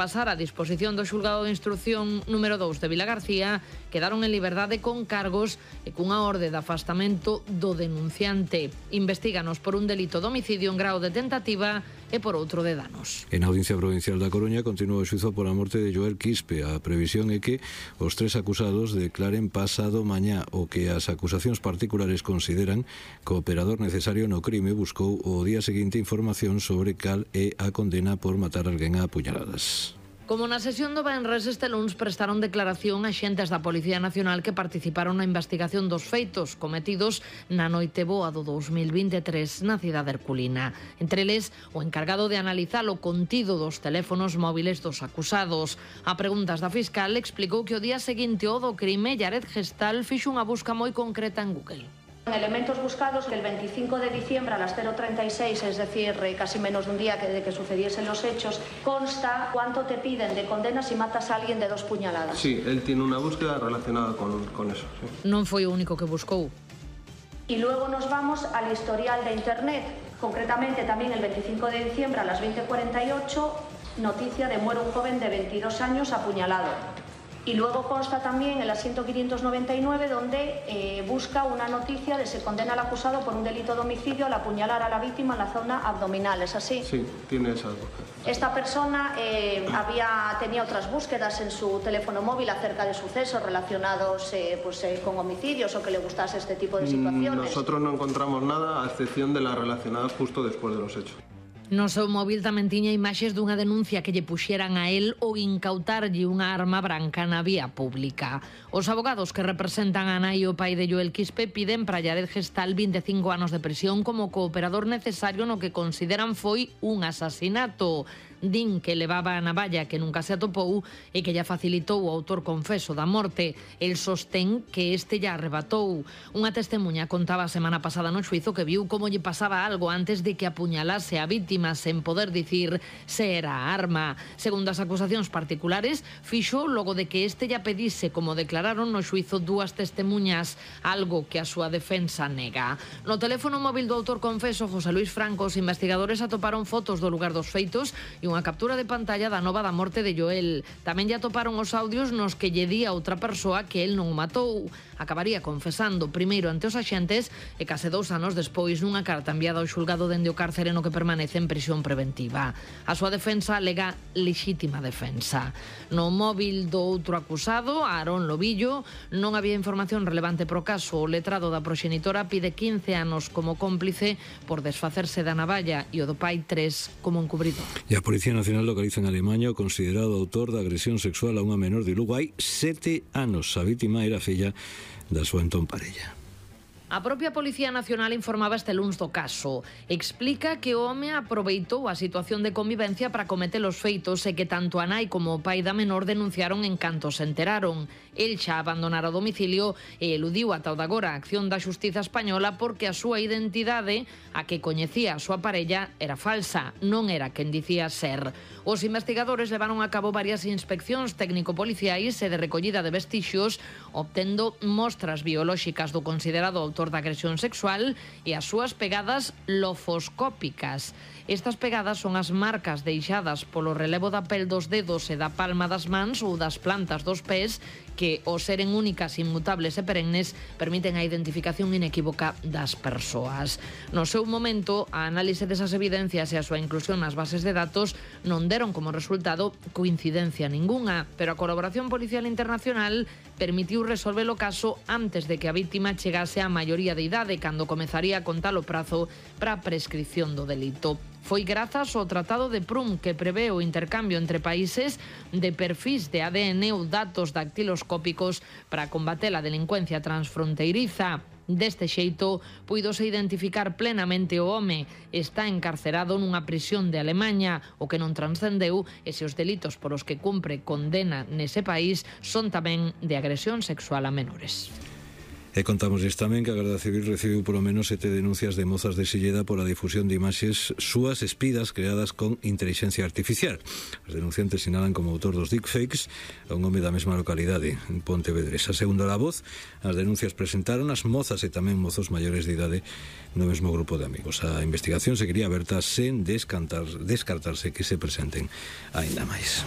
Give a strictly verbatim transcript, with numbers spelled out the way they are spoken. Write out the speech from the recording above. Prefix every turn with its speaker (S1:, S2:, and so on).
S1: Pasar a disposición do xulgado de instrucción número dous de Vilagarcía, quedaron en liberdade con cargos e cunha orde de afastamento do denunciante. Investíganos por un delito de homicidio en grao de tentativa e por outro de danos.
S2: En a Audiencia Provincial da Coruña continúa o xuízo pola morte de Joel Quispe. A previsión é que os tres acusados declaren pasado mañá, o que as acusacións particulares consideran que o operador necesario no crime buscou o día seguinte información sobre cal é a condena por matar alguén a puñaladas.
S1: Como na sesión do venres, este luns prestaron declaración axentes da Policía Nacional que participaron na investigación dos feitos cometidos na noite boa do dous mil vinte e tres na cidade herculina. Entre eles, o encargado de analizar o contido dos teléfonos móviles dos acusados. A preguntas da fiscal explicou que o día seguinte ao do crime, Yared Gestal fixo unha busca moi concreta en Google.
S3: Elementos buscados que el veinticinco de diciembre a las cero treinta y seis, es decir, casi menos de un día que de que sucediesen los hechos, consta cuánto te piden de condena si matas a alguien de dos puñaladas.
S4: Sí, él tiene una búsqueda relacionada con, con eso. Sí.
S1: Non foi o único que buscou.
S3: Y luego nos vamos al historial de Internet, concretamente también el veinticinco de diciembre a las veinte cuarenta y ocho, noticia de muere un joven de veintidós años apuñalado. Y luego consta también el asiento quinientos noventa y nueve, donde eh, busca una noticia de se condena al acusado por un delito de homicidio al apuñalar a la víctima en la zona abdominal, ¿es así?
S4: Sí, tiene esa búsqueda.
S3: Esta persona eh, había, tenía otras búsquedas en su teléfono móvil acerca de sucesos relacionados eh, pues, eh, con homicidios o que le gustase este tipo de situaciones.
S4: Nosotros no encontramos nada, a excepción de las relacionadas justo después de los hechos.
S1: No seu móvil tamén tiña imaxes dunha denuncia que lle puxeran a él ou incautarlle unha arma branca na vía pública. Os abogados que representan a nai e o pai de Joel Quispe piden para Yared Gestal vinte e cinco anos de prisión como cooperador necesario no que consideran foi un asasinato. Din que levaba a navalla que nunca se atopou e que lla facilitou o autor confeso da morte. El sostén que este lla arrebatou. Unha testemuña contaba a semana pasada no xuizo que viu como lle pasaba algo antes de que apuñalase a víctima sen poder dicir se era a arma. Segundo as acusacións particulares, fixo logo de que este lla pedise, como declararon no xuizo dúas testemuñas, algo que a súa defensa nega. No teléfono móvil do autor confeso, José Luis Franco, os investigadores atoparon fotos do lugar dos feitos e unha captura de pantalla da nova da morte de Joel. Tamén lle atoparon os audios nos que lle di a outra persoa que el non o matou. Acabaría confesando primeiro ante os axentes e case dous anos despois nunha carta enviada ao xulgado dende o cárcere no que permanece en prisión preventiva. A súa defensa alega lexítima defensa. No móvil do outro acusado, Aarón Lobillo, non había información relevante pro caso. O letrado da proxenitora pide quince anos como cómplice por desfacerse da navalla e o do pai tres como encubridor.
S2: E a Policía Nacional localiza en Alemaña o considerado autor da agresión sexual a unha menor de Lugo hai sete anos. A vítima era filla da súa entón parella.
S1: A propia Policía Nacional informaba este luns do caso. Explica que o home aproveitou a situación de convivencia para cometer os feitos e que tanto a nai como o pai da menor denunciaron en canto se enteraron. El xa abandonara o domicilio e eludiu ata o de agora a acción da xustiza española porque a súa identidade, a que coñecía a súa parella, era falsa, non era quen dicía ser. Os investigadores levaron a cabo varias inspeccións técnico-policiais e de recollida de vestixios, obtendo mostras biolóxicas do considerado autor da agresión sexual e as súas pegadas lofoscópicas. Estas pegadas son as marcas deixadas polo relevo da pel dos dedos e da palma das mans ou das plantas dos pés que, ao seren únicas, inmutables e perennes, permiten a identificación inequívoca das persoas. No seu momento, a análise desas evidencias e a súa inclusión nas bases de datos non deron como resultado coincidencia ningunha, pero a colaboración policial internacional permitiu resolver o caso antes de que a vítima chegase á maioría de idade, cando comezaría a contar o prazo para a prescripción do delito. Foi grazas ao Tratado de Prüm que prevé o intercambio entre países de perfís de A D N ou datos dactiloscópicos para combater a delincuencia transfronteiriza. Deste xeito, puidose identificar plenamente o home. Está encarcerado nunha prisión de Alemaña, o que non transcendeu e se os delitos por os que cumpre condena nese país son tamén de agresión sexual a menores.
S2: E contámosles tamén que a Garda Civil recibiu polo menos sete denuncias de mozas de Silleda pola difusión de imaxes súas espidas creadas con inteligencia artificial. Os denunciantes sinalan como autor dos deepfakes a un home da mesma localidade, en Pontevedresa. Segundo a voz, as denuncias presentaron as mozas e tamén mozos maiores de idade no mesmo grupo de amigos. A investigación seguiría aberta sen descartar, descartarse que se presenten aínda máis.